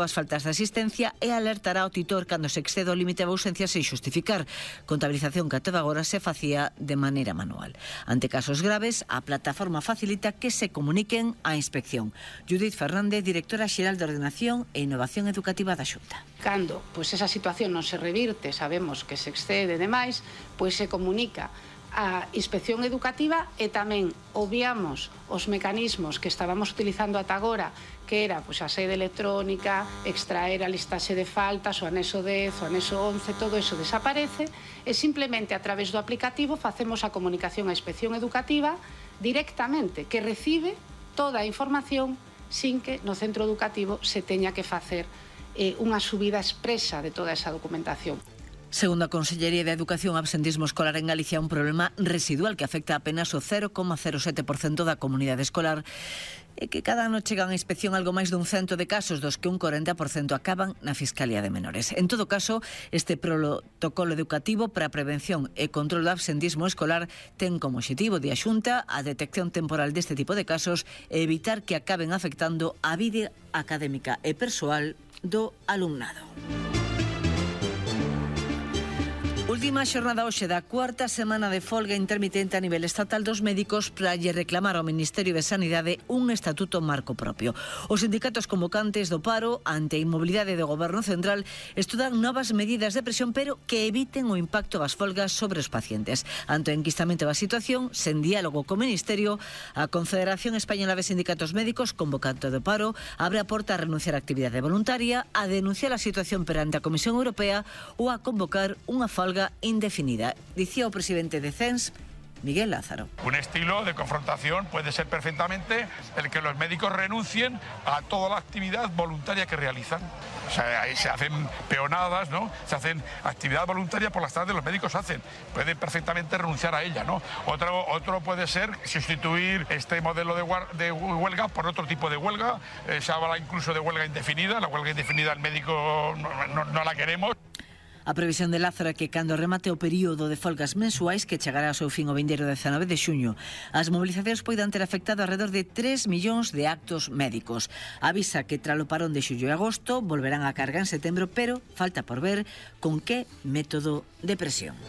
as faltas de asistencia e alertará ao titor cando se excede o límite de ausencia sen xustificar. Contabilización que até agora se facía de maneira manual. Ante casos graves, a plataforma facilita que se comuniquen á inspección. Judith Fernández, directora xeral de Ordenación e Innovación Educativa da Xunta. Cando esa situación non se revirte, sabemos que se excede demais, pois se comunica a inspección educativa e tamén obviamos os mecanismos que estábamos utilizando ata agora, que era a sede electrónica, extraer a listaxe de faltas, o anexo 10, o anexo 11, todo eso desaparece e simplemente a través do aplicativo facemos a comunicación á inspección educativa directamente, que recibe toda a información sin que no centro educativo se teña que facer unha subida expresa de toda esa documentación. Segundo a Consellería de Educación, o absentismo escolar en Galicia é un problema residual que afecta apenas o 0,07% da comunidade escolar e que cada ano chegan a inspección algo máis dun 100 de casos, dos que un 40% acaban na Fiscalía de Menores. En todo caso, este protocolo educativo para a prevención e control do absentismo escolar ten como obxectivo de a Xunta a detección temporal deste tipo de casos e evitar que acaben afectando a vida académica e persoal do alumnado. Última xornada hoxe da cuarta semana de folga intermitente a nivel estatal dos médicos para lle reclamar ao Ministerio de Sanidade un estatuto marco propio. Os sindicatos convocantes do paro ante a inmobilidade do Goberno Central estudan novas medidas de presión, pero que eviten o impacto das folgas sobre os pacientes. Ante o enquistamento da situación, sen diálogo co Ministerio, a Confederación Española de Sindicatos Médicos, convocante do paro, abre a porta a renunciar á actividade voluntaria, a denunciar a situación perante a Comisión Europea ou a convocar unha folga indefinida, dicía o presidente de CENS, Miguel Lázaro. Un estilo de confrontación puede ser perfectamente el que los médicos renuncien a toda la actividad voluntaria que realizan. O sea, ahí se hacen peonadas, ¿no? Se hacen actividad voluntaria por las tardes, los médicos hacen. Pueden perfectamente renunciar a ella, ¿no? Otro puede ser sustituir este modelo de huelga por otro tipo de huelga. Se habla incluso de huelga indefinida. La huelga indefinida el médico no la queremos. A previsión de Lázaro é que cando remate o período de folgas mensuais que chegará ao seu fin o vindeiro 19 de xuño, as movilizacións poidan ter afectado alrededor de 3 millóns de actos médicos. Avisa que tras o parón de xullo e agosto volverán a carga en setembro, pero falta por ver con que método de presión.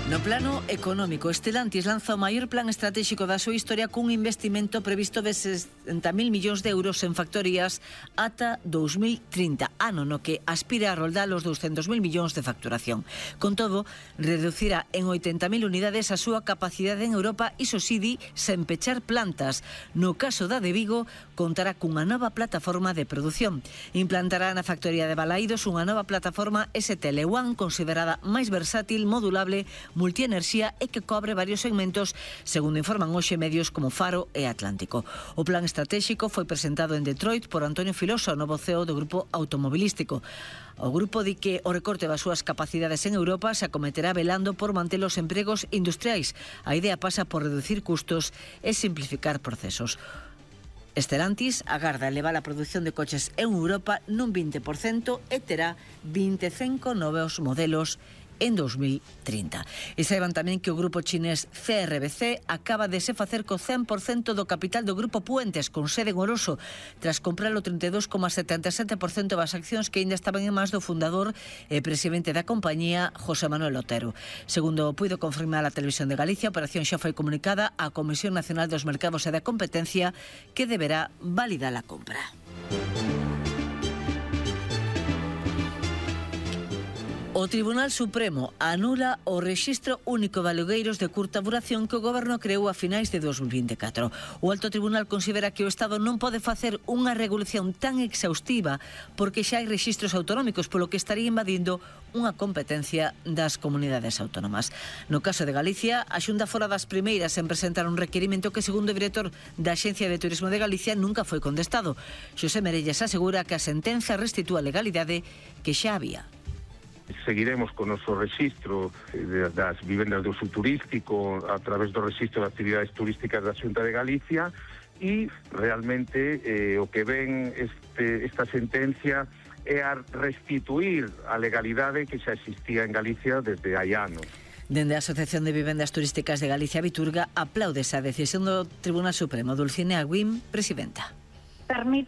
No plano económico, Stellantis lanza o maior plan estratégico da súa historia cun investimento previsto de 60.000 millóns de euros en factorías ata 2030, ano no que aspira a roldar os 200.000 millóns de facturación. Con todo, reducirá en 80.000 unidades a súa capacidade en Europa, iso si di, sen pechar plantas. No caso da de Vigo, contará cunha nova plataforma de produción. Implantará na factoría de Balaídos unha nova plataforma STL1 considerada máis versátil, modulable, multienerxía e que cobre varios segmentos, segundo informan hoxe medios como Faro e Atlántico. O plan estratégico foi presentado en Detroit por Antonio Filoso, novo CEO do grupo automobilístico. O grupo di que o recorte das súas capacidades en Europa se acometerá velando por manter os empregos industriais. A idea pasa por reducir custos e simplificar procesos. Stellantis agarda elevar a produción de coches en Europa nun 20% e terá 25 novos modelos en 2030. E saiban tamén que o grupo chinés CRBC acaba de se facer co 100% do capital do grupo Puentes, con sede en Oroso, tras comprar o 32,77% das accións que ainda estaban en mans do fundador e presidente da compañía, José Manuel Otero. Segundo puido confirmar a Televisión de Galicia, a operación xa foi comunicada á Comisión Nacional dos Mercados e da Competencia, que deberá validar a compra. O Tribunal Supremo anula o Rexistro Único de Alugueiros de curta duración que o Goberno creou a finais de 2024. O Alto Tribunal considera que o Estado non pode facer unha regulación tan exhaustiva porque xa hai rexistros autonómicos, polo que estaría invadindo unha competencia das comunidades autónomas. No caso de Galicia, a Xunta fora das primeiras en presentar un requerimento que, segundo o director da Axencia de Turismo de Galicia, nunca foi contestado. Xosé Merelles asegura que a sentenza restitúa a legalidade que xa había. Seguiremos con o noso rexistro das vivendas de uso turístico a través do rexistro de actividades turísticas da Xunta de Galicia e realmente o que ven esta sentencia é a restituir a legalidade que xa existía en Galicia desde hai anos. Dende a Asociación de Vivendas Turísticas de Galicia, Viturga, aplaude esa decisión do Tribunal Supremo. Dulcinea Guim, presidenta. permite